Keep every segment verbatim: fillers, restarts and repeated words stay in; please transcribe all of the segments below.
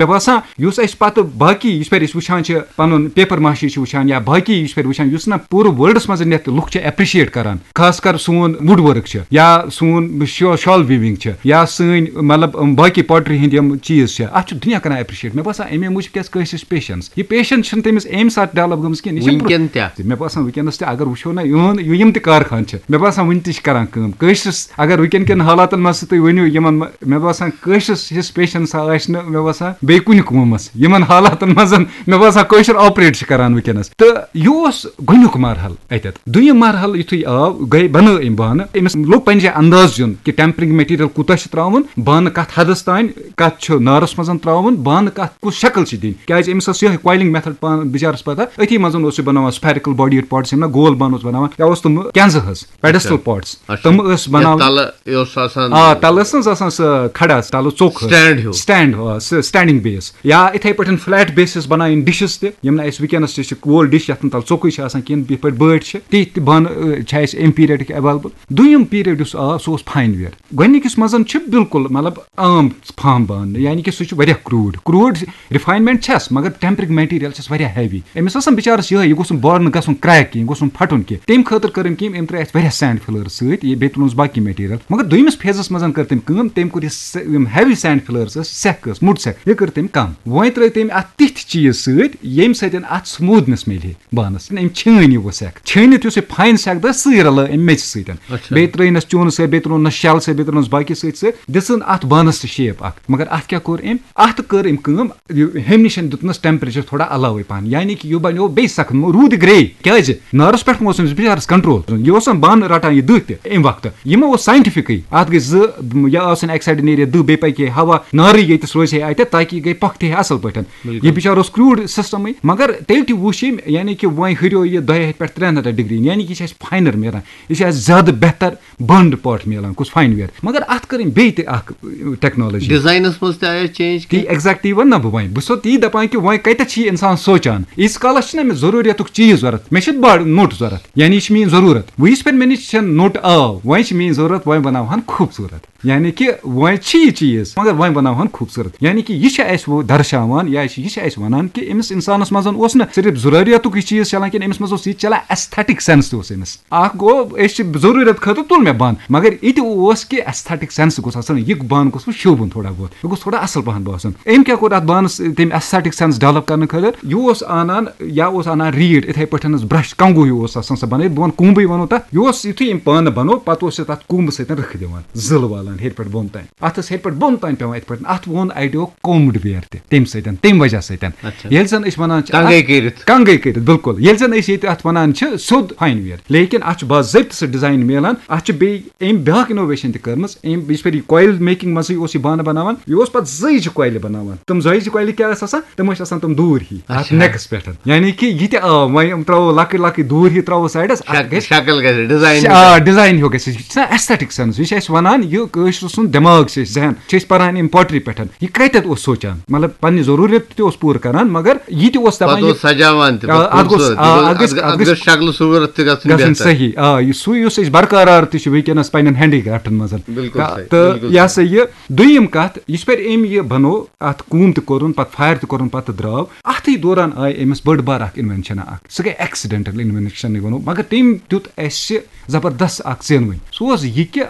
مےٚ باسان یُس اَسہِ پَتہٕ باقٕے یِژھ پھِرِ أسۍ وٕچھان چھِ، پَنُن پیپَر ماشی چھِ وٕچھان یا باقٕے یِژھ پھِرِ وٕچھان، یُس نہ پوٗرٕ ورلڈَس منٛز یَتھ لُکھ چھِ ایپرِشیٹ کَران، خاص کر سون وُڈ ؤرٕک چھِ یا سون شا-، شال ویوِنٛگ چھِ یا سٲنۍ مطلب باقٕے پاٹری ہِنٛدۍ یِم چیٖز چھِ، اَتھ چھُ دُنیا کَران ایپرِشیٹ۔ مےٚ باسان اَمے موٗجوٗب کیٛازِ کٲنٛسہِ چھِ پیشَنٕس۔ یہِ پیشَنٕس چھِنہٕ تٔمِس اَمہِ ساتہٕ ڈیولَپ گٔمٕژ کینٛہہ، یہِ چھِ برٛونٛہہ۔ وٕنکٮ۪ن تہِ۔ مےٚ باسان وٕنکیٚنَس تہِ اگر وٕچھو نہ، یِہُنٛد یِم تہِ کارخان چھِ، مےٚ باسان وٕنہِ تہِ چھِ کَران کٲم۔ کٲشرِس اگر وٕنکیٚن کٮ۪ن حالاتَن منٛز تہِ تُہۍ ؤنِو، یِمَن مہ-، مےٚ باسان کٲشرِس ہِش پیشَنٕس آسہِ نہٕ، مےٚ باسان بیٚیہِ کُنہِ قومَس یِمَن حالاتَن منٛز، مےٚ باسان کٲشُر آپریٹ چھِ کَران وٕنکیٚنَس۔ تہٕ یہِ اوس گۄڈٕنیُک مرحلہٕ اَتٮ۪تھ۔ دوٚیِم مرحلہٕ یُتھُے آو، گٔے، بَنٲو أمۍ بانہٕ، أمِس لوٚگ پنٛنہِ جایہِ انداز یُن کہِ ٹیمپرنگ میٹیریل کوٗتاہ چھُ ترٛاوُن، بانہٕ کَتھ حدَس تام، کَتھ چھُ نارَس منٛز ترٛاوُن، بانہٕ کَتھ کُس شکل چھِ دِنۍ۔ کیٛازِ أمِس ٲس یِہوٚے کویلنگ میتھڈ پانہٕ بِچارَس پَتہ، أتھی منٛز اوس یہِ بَناوان سپیرِکل باڈیڈ پاٹس، یِم نہ گول بانہٕ اوس بَناوان، یا اوس تِم کینزٕ ہٕنٛز پیڈسٹل اچھا۔ پاٹس، اچھا۔ تِم ٲس بَناوان۔ تَلہٕ یہِ اوس آسان۔ آ، تَلہٕ ٲس نہٕ حظ آسان سۄ کھڑا، تَلہٕ ژوٚک ٲس۔ سٹینڈ ہیوٗ۔ سٹینڈ، آ، سُہ سٹینڈنگ بیس۔ یا اِتھَے پٲٹھۍ فلیٹ بیسز بَناوٕنۍ ڈِشز تہِ، یِم نہٕ اَسہِ وٕنکیٚنَس تہِ چھِ گول ڈِش یَتھ نہٕ تَلہٕ ژوٚکُے چھِ آسان کِہیٖنۍ، یِتھ پٲٹھۍ بٲٹۍ چھِ، تِتھۍ تہِ بانہٕ، آ، چھِ اَسہِ اَمہِ پیٖریڈٕکۍ ایویلیبل۔ دوٚیِم پیٖریڈ یُس آو، سُہ اوس فاین ویئر۔ گۄڈٕنِکِس منٛز چھِ بالکل مطلب عام فارم بانہٕ، یعنی کہِ سُہ چھُ واریاہ کروٗڈ۔ کروٗڈ ریفائنمنٹ چھَس، مگر ٹیمپرنگ میٹیریل چھَس واریاہ ہیوی۔ أمِس آسان بِچارَس یِہوٚے، یہِ گوٚژھ نہٕ بارنہٕ گژھُن کریک کینٛہہ، یہِ گوٚژھ نہٕ پھٹُن کینٛہہ۔ تَمہِ خٲطرٕ کٔر أمۍ کٲم، أمۍ ترٛٲے اَتھ واریاہ سینڈ فِلٲرٕس سۭتۍ، یہِ بیٚیہِ تُلُن باقٕے میٹیریل۔ مگر دوٚیمِس فیزَس منٛز کٔر تٔمۍ کٲم، تٔمۍ کوٚر یہِ س-، یِم ہیوی سینڈ فِلٲرٕس ٲسۍ، سٮ۪کھ ٲس، موٚٹ سٮ۪کھ، یہِ کٔر تٔمۍ کَم۔ وۄنۍ ترٛٲے تٔمۍ اَتھ تِتھۍ چیٖز سۭتۍ، ییٚمہِ سۭتۍ اَتھ سموٗدنٮ۪س میلہِ ہے بانَس۔ أمۍ چھٲنۍ یہِ وۄنۍ سٮ۪کھ، چھٲنِتھ یُس یہِ فاین سٮ۪کھ درٛاے، سُے رَلٲو أمۍ میٚژِ سۭتۍ۔ اچھا۔ بیٚیہِ ترٛٲینَس چوٗنہٕ سۭتۍ، بیٚیہِ ترٛوونَس شَل سۭتۍ، بیٚیہِ ترٛوونَس باقٕے سۭتۍ سۭتۍ، دِژٕن اَتھ بانَس تہِ شیپ اَکھ۔ مگر اَتھ کیٛاہ کوٚر أمۍ؟ اَتھ کٔر أمۍ کٲم، یہِ ہیٚمہِ نِش دیُتنَس ٹیمپریچر تھوڑا علاوٕے پَہَن، یعنی کہِ یہِ بَنیو بیٚیہِ سخت، روٗدِ گرٛے۔ کیٛازِ؟ نارَس پٮ۪ٹھ ما اوس أمِس بِچارَس کنٹرول؟ یہِ اوس آسان بانہٕ رَٹان یہِ دٕہ تہِ اَمہِ وقتہٕ۔ یِمو اوس ساینٹیفکٕے، اَتھ گٔے زٕ، یا آسن اَکہِ سایڈٕ نیرِ دٕہ، بیٚیہِ پَکہِ ہے ہوا، نارٕے ییٚتِس روزِ ہے اَتٮ۪تھ، تاکہِ یہِ گٔے پۄختہٕ ہے اَصٕل پٲٹھۍ۔ یہِ بِچار اوس کروٗڈ سِسٹَمٕے، مگر تیٚلہِ تہِ وُچھ أمۍ، یعنی کہِ وۄنۍ ہُریو یہِ دۄیہِ ہَتہِ پٮ۪ٹھ ترٛٮ۪ن ہَتَن ڈگری، یعنی کہِ یہِ چھِ اَسہِ فاینَر میلان، یہِ چھِ اَسہِ زیادٕ بہتر بانڈ پاٹ میلان، کُس فاین ویئر۔ مگر اَتھ کٔر أمۍ بیٚیہِ تہِ اَکھ ٹیکنالوجی۔ ڈیزاینس منٛز تہِ آیا چینج؟ تی ایگزیکٹلی وَن نہ بہٕ وۄنۍ، بہٕ چھُسو تی دَپان کہِ وۄنۍ کَتٮ۪تھ چھِ یہِ اِنسان سونٛچان، ییٖتِس کالَس چھِنہ مےٚ ضروٗریتُک چیٖز ضوٚرَتھ، مےٚ چھِ بڑ نوٚٹ ضوٚرَتھ، یعنی یہِ چھِ میٛٲنۍ ضروٗرت۔ وۄنۍ یِژھ پھِرِ مےٚ نِش چھَنہٕ نوٚٹ آو، وۄنۍ چھِ میٛٲنۍ ضروٗرت، وۄنۍ بَناوہَن خوٗبصوٗرت۔ یعنی کہِ وۄنۍ چھِ یہِ چیٖز، مگر وۄنۍ بَناوہَن خوٗبصوٗرت۔ یعنی کہِ یہِ چھِ اَسہِ وۄنۍ درشاوان، یا چھِ، یہِ چھِ اَسہِ وَنان کہِ أمِس اِنسانَس منٛز اوس نہٕ صرف ضروٗریتُک یہِ چیٖز چَلان کِنہٕ أمِس منٛز اوس یہِ چَلان، ایستھیٹک سینس تہِ اوس أمِس۔ اَکھ گوٚو، أسۍ چھِ ضروٗرت خٲطرٕ تُل مےٚ بانہٕ، مگر یہِ تہِ اوس کہِ ایستھیٹک سینس گوٚژھ آسُن، یہِ بانہٕ گوٚژھ وۄنۍ شوٗبُن تھوڑا بہت، یہِ گوٚژھ تھوڑا اَصٕل پَہَن باسُن۔ أمۍ کیٛاہ کوٚر اَتھ بانَس، تٔمۍ ایستھیٹک سینس ڈیولپ کَرنہٕ خٲطرٕ؟ یہِ اوس اَنان، یا اوس اَنان ریٖٹ، یِتھَے پٲٹھۍ برش، کنٛگوٗ ہیوٗ اوس آسان سُہ بَنٲوِتھ، بہٕ وَنہٕ کوٗمبٕے وَنو تَتھ۔ یہِ اوس، یُتھُے أمۍ پانہٕ بَنوو، پَتہٕ اوس یہِ تَتھ کوٗمبہٕ سۭتۍ رٕکھٕ دِوان، زٕلہٕ والان ہیٚرِ پٮ۪ٹھ بۄن تام۔ اَتھ ٲس ہیٚرِ پٮ۪ٹھ بۄن تام پٮ۪وان یِتھ پٲٹھۍ۔ اَتھ ووٚن اَڑیو کومڈ ویر تہِ تَمہِ سۭتۍ، تَمہِ وجہ سۭتۍ۔ اچھا۔ ییٚلہِ زَن أسۍ وَنان چھِ کنگے اَتھ، کٔرِتھ۔ کنگے کٔرِتھ، بِلکُل۔ ییٚلہِ زَن أسۍ ییٚتہِ اَتھ وَنان چھِ سیوٚد فاین ویر، لیکن اَتھ چھُ باضٲبطہٕ سُہ ڈیزاین میلان۔ اَتھ چھِ بیٚیہِ أمۍ بیٛاکھ انوویشن تہِ کٔرمٕژ۔ أمۍ، یِژھ پھِرِ یہِ کویل میکنگ منٛزٕے اوس یہِ بانہٕ بَناوان، یہِ اوس پَتہٕ زٲیجہِ کویلہِ بَناوان۔ تِم زٲیجہِ کویلہِ کیٛاہ ٲسۍ آسان؟ تِم ٲسۍ آسان تِم دوٗر ہی اَتھ اچھا۔ نیکَس پٮ۪ٹھ۔ یعنی کہِ یہِ تہِ آو، وۄنۍ یِم ترٛاوو لۄکٕٹۍ لۄکٕٹۍ دوٗر ہی ترٛاوو سایڈَس، اَتھ شک-، گژھِ شکل گژھِ، ڈیزاین آ، ڈیزاین ہیوٗ گژھِ۔ یہِ چھُ آسان ایستھیٹک سینس، یہِ چھُ اَسہِ وَنان، یہِ کٲشرِ سُنٛد دٮ۪ماغ چھُ اَسہِ ذہن، چھِ أسۍ پَران اَمہِ پوٹری پٮ۪ٹھ۔ یہِ کَتٮ۪تھ اوس سونٛچان؟ مطلب، پَنٕنہِ ضروٗرت تہِ اوس پوٗرٕ کَران، مگر یہِ تہِ اوس دَپان، پتہٕ یہِ اوس سجاوان تہِ، آ، پتہٕ اَتھ گوٚژھ، خوٗبصوٗرت، آ، یہِ گوٚژھ، اَتھ گژھِ، اَتھ، اَتھ اَتھ گٔژھ شکلہٕ صوٗرت تہِ گژھٕنۍ گژھُن بہتر۔ صحیح۔ آ، یہِ سُے یُس أسۍ برقرار تہِ چھِ وٕنکیٚنَس پنٛنٮ۪ن ہینڈی کرٛافٹَن منٛز۔ بِلکُل تہٕ، صحیح، تہٕ بِلکُل یہِ صحیح۔ ہسا یہِ دوٚیِم کَتھ، یِژھ پھِرِ أمۍ یہِ بَنوو، اَتھ کوٗم تہِ کوٚرُن، پَتہٕ فایر تہِ کوٚرُن، پَتہٕ درٛاو۔ اَتھٕے دوران آیہِ أمِس بٔڑ بار اَکھ اِنوینشَن اَکھ، سُہ گٔے ایکسیڈنٹل اِنوینشَنٕے وَنو، مگر تٔمۍ دیُت اَسہِ زبردست اَکھ زینوٕنۍ۔ سُہ اوس یہِ کہِ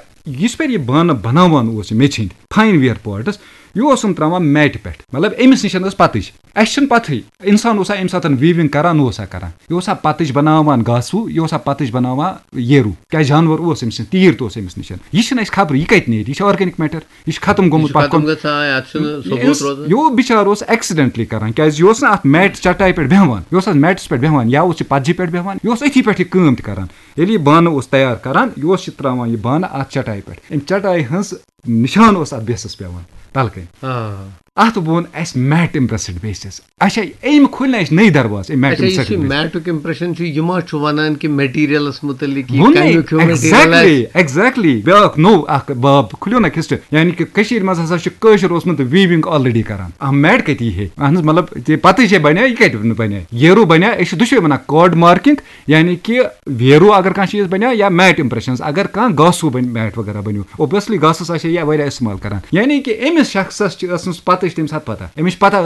یِژھ پھِرِ یہِ بانہٕ بَناوان اوس یہِ میٚژِ ہِنٛدۍ فاین ویر پاٹس، یہِ اوس یِم ترٛاوان میٹہِ پٮ۪ٹھ۔ مطلب، أمِس نِش ٲس پَتٕج، اَسہِ چھِنہٕ پَتہٕے۔ اِنسان اوسا اَمہِ ساتہٕ ویٖوِنٛگ کَران، اوسا کَران؟ یہِ اوسا پَتٕج بَناوان گاسہٕ ہیوٗ، یہِ اوسا پَتٕج بَناوان ییروٗ؟ کیٛازِ جانوَر اوس أمِس نِش، تیٖر تہِ اوس أمِس نِش۔ یہِ چھِنہٕ اَسہِ خبرٕے، یہِ کَتہِ نیرِ؟ یہِ چھِ آرگینِک میٹر، یہِ چھِ ختم یہِ گوٚمُت چھُ پَتھ ختم کُن۔ گژھان، اَتھ چھُنہٕ ثبوٗت یُس روزان۔ یہِ بِچارٕ اوس ایکسیڈنٹلی کَران، کیٛازِ یہِ اوس نہٕ اَتھ میٹ چٹایہِ پٮ۪ٹھ بیٚہوان، یہِ اوس اَتھ میٹَس پٮ۪ٹھ بیٚہوان، یا اوس یہِ پَتجہِ پٮ۪ٹھ بیٚہوان، یہِ اوس أتھی پٮ۪ٹھ یہِ کٲم تہِ کَران۔ ییٚلہِ یہِ بانہٕ اوس تیار کَران، یہِ اوس یہِ ترٛاوان یہِ بانہٕ اَتھ چٹایہِ پٮ۪ٹھ۔ اَمہِ چٹایہِ ہٕنٛز نِشان اوس اَتھ بیسَس پٮ۪وان تَلہٕ کَنۍ۔ آ۔ اَتھ ووٚن اَسہِ میٹ امپریسڈ بیسز۔ اچھا، أمۍ کھُلۍ نہ اَسہِ نٔے دروازٕ، أمۍ میٹ اچھا، یُس یہِ امپریسڈ۔ میٹُک امپریشن چھُ، یہِ ما چھُ وَنان کہِ میٹیریلس مُتعلق یہِ ووٚنُے، کَمیُک ہیوٗ میٹیریل exactly، آسہِ؟ exactly۔ بیٛاکھ نوٚو اکھ باب کھُلیو نہ کھسٹہٕ، یعنی کہِ کٔشیٖرِ منٛز ہسا چھُ کٲشُر اوسمُت ویٖوِنٛگ already کران۔ اَہَن، میٹ کَتہِ یی ہے؟ اَہَن حظ، مطلب، تہِ پَتہٕ چھے بَنیٛا، یہِ کَتہِ بَنیٛا؟ ییروٗ بَنیٛا، أسۍ چھِ دُشوَے وَنان کارڈ مارکِنٛگ، یعنی کہِ ویروٗ اگر کانٛہہ چیٖز بَنیٛا یا میٹ امپریشنز، اگر کانٛہہ گاسوٗ بَنہِ، میٹ وغیرہ بَنیو، اوبویسلی گاسَس آسہِ ہے یہِ واریاہ استعمال کران۔ یعنی کہِ أمِس شخصس چھِ ٲسمٕژ پَتہٕ چھِ تَمہِ ساتہٕ پَتہ، أمِس چھِ پَتہ